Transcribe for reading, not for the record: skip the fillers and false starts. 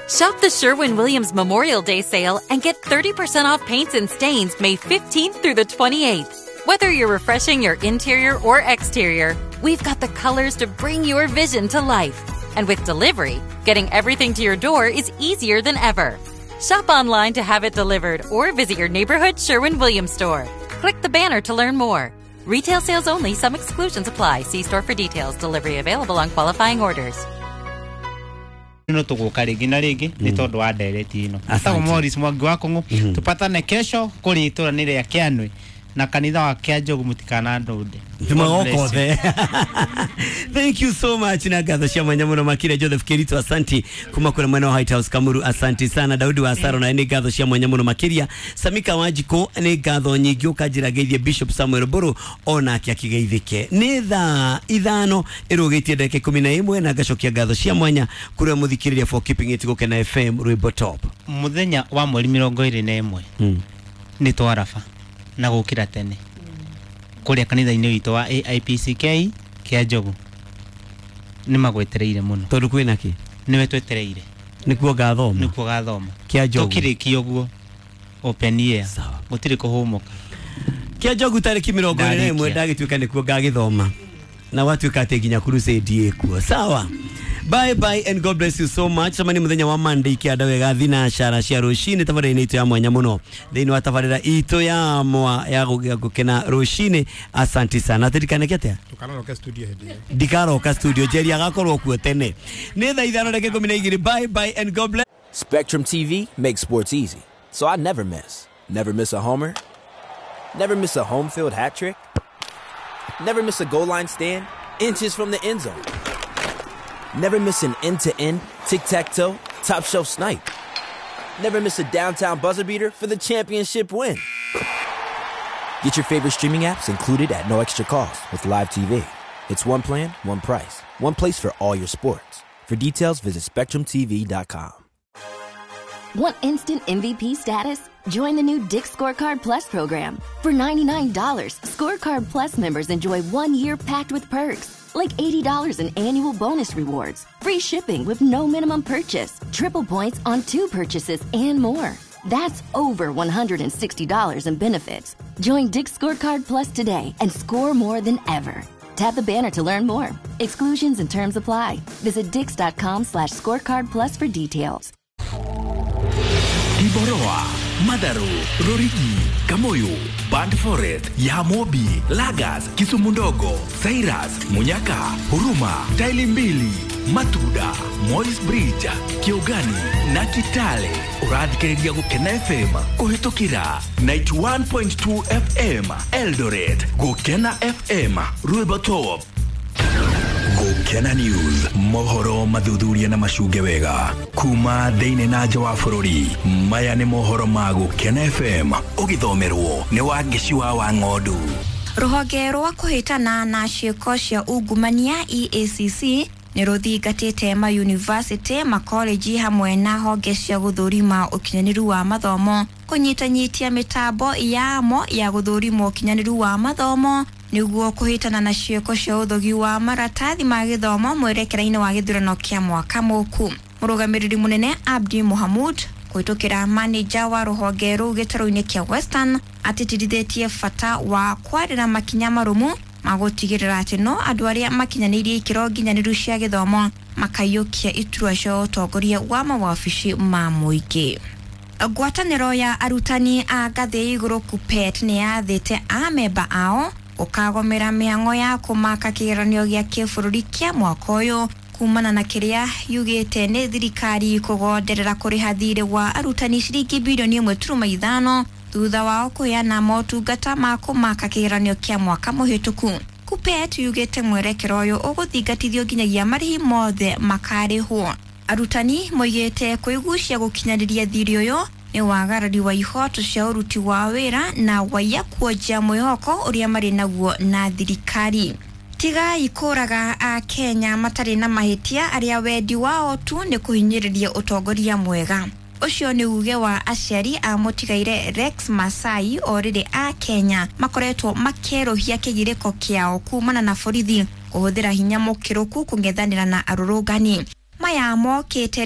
Shop the Sherwin-Williams Memorial Day sale and get 30% off paints and stains May 15th through the 28th. Whether you're refreshing your interior or exterior, we've got the colors to bring your vision to life. And with delivery, getting everything to your door is easier than ever. Shop online to have it delivered or visit your neighborhood Sherwin-Williams store. Click the banner to learn more. Retail sales only, some exclusions apply. See store for details. Delivery available on qualifying orders. No tuguka rĩngĩ na rĩngĩ nĩ tondũ wa ndereti ĩno. Etagwo Morris Mwangi wa Kũng'ũ. Tũpatane kesho kũrĩ itũra nĩ rĩa Kĩanũĩ na kanitha wa Kĩanjogu mũtikanandũnde. Tumagokothe. Thank you so much na ngatho cia mwanya muno makire Joseph Kirito, asanti kuma kura mwena wa White House Kamuru, asanti sana. Daudi wa Asaro na nĩ ngatho cia mwanya muno makiria. Samika Wanjiko nĩ ngatho nyingĩ ũkanjĩra geithie Bishop Samuel Mburu onake akigeithĩke. Nĩ thaa 5 ĩrũgĩtie ndagĩka 11 na ngacokia ngatho cia mwanya kũrĩa mũthikĩrĩria for keeping it Gũkena FM rwĩmbo top. Mũthenya wa mweri 21 nĩ twaraba na gũkĩra tene kũrĩa kanitha-inĩ witũ wa AIPCK Kĩanjogu. Nĩ magwetereire mũno. Tondũ kwĩna kĩ? Nĩwe twetereire. Nĩkuo ngathoma. Nĩkuo gathoma. Kĩanjogu. Tũkĩrĩkia ũguo open air. Gũtirĩ kũhũmũka. Kĩanjogu tarĩki 21 ndagĩtuĩka nĩkuo ngagĩthoma. Na watuĩka atĩ nginya crusade ĩkuo. Sawa. Bye bye and God bless you so much. Samani muthenya wa Monday kianda wega thina cara cia rucini tabarĩra-inĩ itũ ya mwanya mũno. Thĩinĩ wa tabarĩra itũ ya mwa ya gũkena rucini. Asante sana. Tirikaneke atĩa? Ndũkanaroke studio hĩndĩ ĩyo. Ndikaroka studio. Jerry agakorwo kuo tene. Nĩ thaa 5:12. Bye bye and God bless. Spectrum TV makes sports easy, so I never miss. Never miss a homer. Never miss a home field hat trick. Never miss a goal line stand inches from the end zone. Never miss an end-to-end, tic-tac-toe, top-shelf snipe. Never miss a downtown buzzer beater for the championship win. Get your favorite streaming apps included at no extra cost with Live TV. It's one plan, one price, one place for all your sports. For details, visit SpectrumTV.com. Want instant MVP status? Join the new Dick's Scorecard Plus program. For $99, Scorecard Plus members enjoy 1 year packed with perks, like $80 in annual bonus rewards, free shipping with no minimum purchase, triple points on 2 purchases, and more. That's over $160 in benefits. Join Dick's Scorecard Plus today and score more than ever. Tap the banner to learn more. Exclusions and terms apply. Visit dicks.com/scorecard plus for details. Iboroa, Madaru, Rorigi, Kamoyo, Band Forest, Yamobi, Lagas, Kisumu Ndogo, Cyrus, Munyaka, Huruma, Taili Mbili, Matuda, Moi's Bridge, Kiogani na Kitale. Ũrathikĩrĩria Gũkena FM kũhĩtũkĩra 91.2 FM Eldoret, Gũkena FM Rwĩmbo Top. Gũkena News, mohoro mathuthuria na macunge wega kuma thĩinĩ na nja wa bũrũri. Maya nĩ mohoro ma Gũkena FM ũgĩthomerwo nĩ Wangeci wa Wang'ondu. Rũhonge rwa kũhĩtana na ciĩko cia ungumania EACC nĩ rũthingatĩte mayunivasĩtĩ, makoleji hamwe na honge cia gũthũrima ũkinyanĩru wa mathomo kũnyitanyitia mĩtambo yamo ya gũthũrima ũkinyanĩru wa mathomo nĩguo kũhĩtana na ciĩko cia ũthogi wa maratathi ma gĩthomo mwerekera-inĩ wa gĩthurano kĩa mwaka mũku. Mũrũgamĩrĩri mũnene Abdi Mohamud kũhĩtũkĩra manager wa rũhonge rũu gĩtarũ-inĩ kĩa Western atĩtĩrithĩtie bata wa kwarĩra makinya marũmu magũtigĩrĩra atĩ no andũ arĩa makinyanĩirie ikĩro nginyanĩru cia gĩthomo makaiyũkia iturwa cia ũtongoria wa mawabici ma mũingĩ. Ngwatanĩro ya arutani a ngathĩ igũrũ KUPPET nĩ yathĩte amemba ao gũkagomera mĩhang'o ya kũmaka kĩgeranio gĩa kĩbũrũri kĩa mwaka ũyũ kumana na kĩrĩa yugĩte nĩ thirikari kũgonderera kũrĩha thirĩ wa arutani ciringi bilioni 1.5 thutha wao kũheana motungata ma kũmaka kĩgeranio kĩa mwaka mũhĩtũku. KUPPET yugĩte mwerekero ũyũ ũgũthingatithio nginyagia marĩhi mothe makarĩhwo. Arutani moigĩte kwĩgucia gũkinyanĩria thirĩ ũyũ nĩ wagarari wa ihoto cia ũruti wa wĩra na waiya kuonjia mwĩhoko ũrĩa marĩ naguo na thirikari. Tigai kũraga a Kenya matarĩ na mahĩtia arĩa wendi wao tu nĩ kũhinyĩrĩria ũtongoria mwega. Ũcio nĩ uge wa aciari a mũtigaire Rex Masai o rĩrĩ a Kenya makoretwo makĩerũhia kĩgirĩko kĩao kumana na borithi kũhũthĩra hinya mũkĩrũku kũng'ethanĩra na arũrũngani. Maya mokĩte.